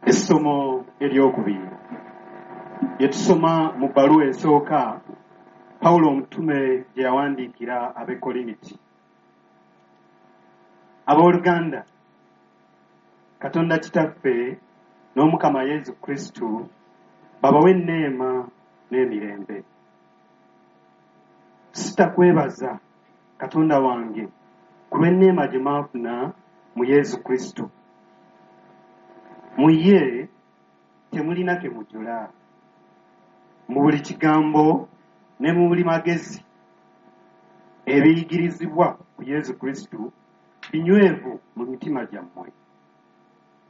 Essomo eryokubiri lye tusoma mu bbaluwa esooka Pawulo omutume gye yawandiikira ab'e Korinti. Abooluganda, Katonda Kitaffe n'Omukama Yesu Kristo babawe enneema n'emirembe. Sitakwebaza Katonda wange ku lw'enneema gye mwafuna mu Yesu Kristo. Mu ye temulina ke mujula mu buli kigambo ne mu buli magezi ebiyigirizibwa ku Yesu Kristo binywevu mu mitima gyammwe.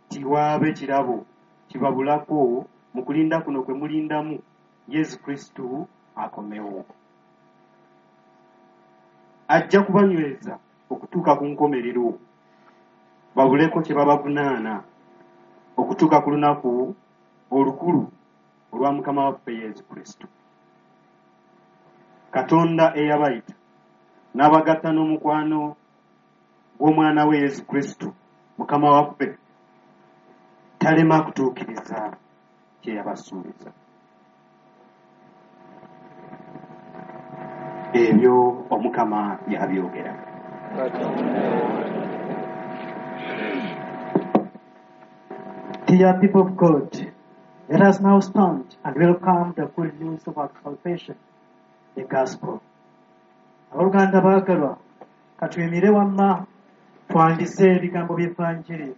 Tiwaabe kirabo kibabulako mu kulinda kuno kwe mulindamu Yesu Kristo akomewo. Ajja kubanyweza okutuuka ku nkomerero, babuleko kye babavunaana okutuuka ku lunaku olukulu olwa Mukama waffe Yesu Kristo. Katonda eyabayita n'abagatta n'omukwano gw'omwana we Yesu Kristo Mukama waffe talema kutuukiriza kye yabasuubiza. Ebyo Omukama yabyogera. Dear people of God, let us now stand and welcome the good news of our salvation, the gospel. Abooluganda baagalwa, katuyimire wamma twandize ebigambo by'Evanjiri.